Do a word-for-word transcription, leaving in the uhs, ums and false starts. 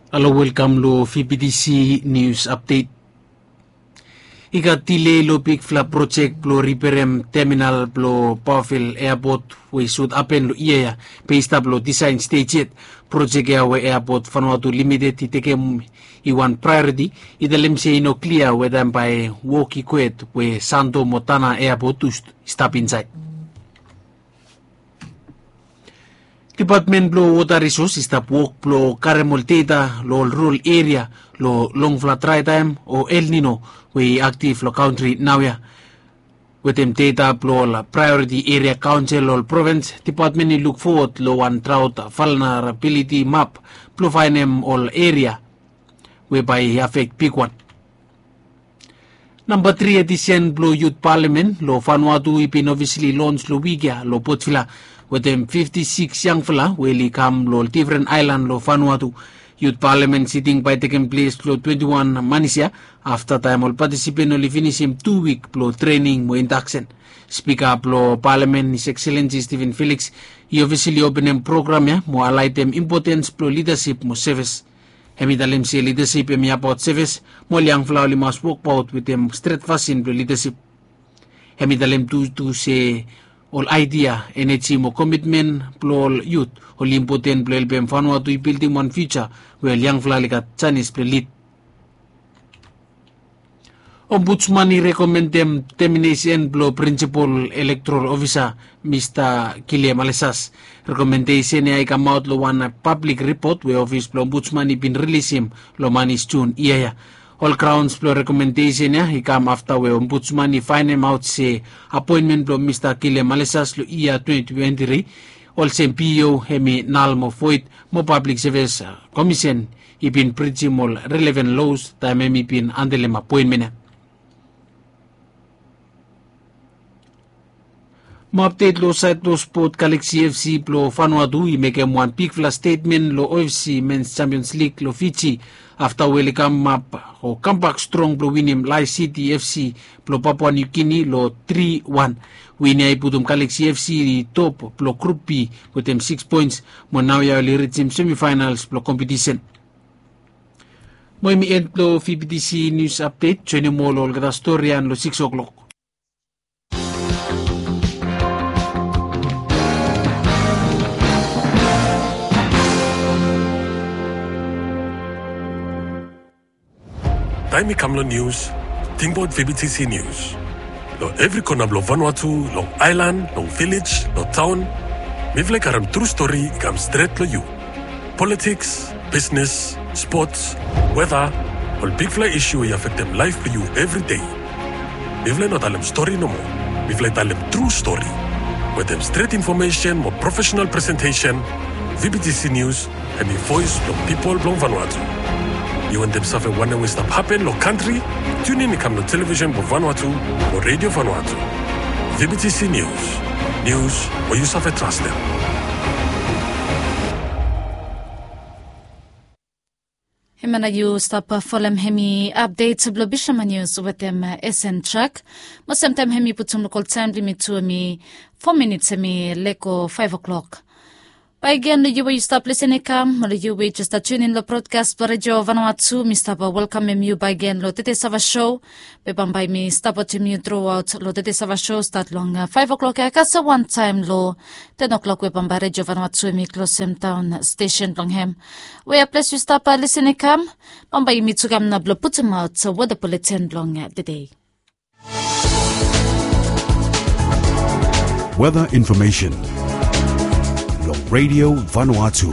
Halo, welkam lo V B T C News Update. I gat dile lo bigfala projek blo riperem teminal blo Paofil Eapot we i sud hapen lo yia ya, be i stap lo disaen stej yet. Projek ya we Eapot Vanuatu Limited i tekem i wan praeoriti, i talem se i no klia weta bae wok i kwet we Santo mo Tanna Eapot tu stap insaed. Depatmen blo Wota Risos i stap wok blo karem ol deta lo ol rural eria lo longfala draetaem o El Nino we i aktif lo kantri naoia. Wetem deta blo ol praeoriti eria kaonsel lo ol provens, depatmen i luk fowod lo wan draot valnerabiliti map blo faenem ol eria we bae i afek bigwan. Namba tri edisen blo Yut Palamen lo Vanuatu i bin ofisali lons lo wik ya lo Port Vila wetem fifti sikis yangfala we oli kam lo ol defren aelan lo Vanuatu. Yut Palamen siting bae tekem ples lo twenti wan manis ya, afta taem ol patisipen oli finisim tu wik blo trening mo indaksen. Spika blo Palamen, His Excellency Stephen Felix, i ofisali openem program ya mo haelaetem impotens blo lidasip mo sevis. Hem i talem se lidasip hem i abaot sevis, mo ol yangfala oli mas wokbaot wetem stret fasin blo lidasip. Hem i talem tu tu se ol aedia, eneji mo komitmen blo ol yut oli impoten blo helpem Vanuatu i bildim wan fiuja we ol yangfala oli gat janis blo lid. Ombudsman i rekomendem teminesen blo prinsipol elektoral ofisa Mista Kile Malesas. Rekomendesen ya i kamaot lo wan pablik ripot we ofis blo Ombudsman i bin rilisim lo manis Jun yia ya. Ol graons blo rekomendesen ya i kam afta we Ombudsman i faenemaot se apoenmen blo Mista Kile Malesas lo yia twenti twenti tri olsem P E O hem i nal mo voed, mo Pablik Sevis Komisen i bin brijim ol relevan los taem hem i bin handelem apoenmen ya. Mo apdet lo saed blo spot, Galaxy F C blo Vanuatu i mekem wan bigfala stetmen lo O F C Men's Champions League lo Fiji afta we oli kamap o kambak strong blo winim Lae City F C blo Papua New Guinea lo tri wan. Win ya i putum Galaxy F C i top blo Group B wetem sikis poens, mo naoia oli rijim semifinals blo kompetisen. Mo hem i en blo V B T C News Update. Joenem ol olgeta stori ya lo sikis o'clock. Taem i kam lo nius, tingbaot V B T C News. Lo evri kona blo Vanuatu, long aelan, long vilej, lo taon, mifala i karem tru stori i kam stret lo yu. Politiks, bisnes, spots, weta, ol bigfala isu we i afektem laef blo yu evri dei. Mifala i no talem stori nomo. Mifala i talem tru stori. Wetem stret infomesen mo profesenal presentesen, V B T C News hem i voes blo pipol blo Vanuatu. Yu wantem save wanem we i stap hapen lo kantri? Tiunin i kam lo televisen blo Vanuatu mo Redio Vanuatu. V B T C News. Nius we yu save trastem. Hemia nao yu stap folem hemi apdet blo Bisma Nius wetem S N Trak. Mo semtaem hemi putum lokol taem blo yumi tu hemi fo minits hemi lego faef o'clock. Bakegen lo yu we yu stap lisin i kam, lo yu we yu jes stap tiunin lo brodkas blo Redio Vanuatu, mi stap welkamem yu bakegen lo Tede Sava Show. Be bambae mi stap wetem yu truaot lo Tede Sava Show stat long faef o'clock ya kasem wantaem lo ten o'clock we bambae Redio Vanuatu hemi klosem daon stesen blong hem. Wea ples yu stap lisin i kam, bambae yumi tu kam nao blo putumaot weta buletin blong tede. Weather information long Radio Vanuatu.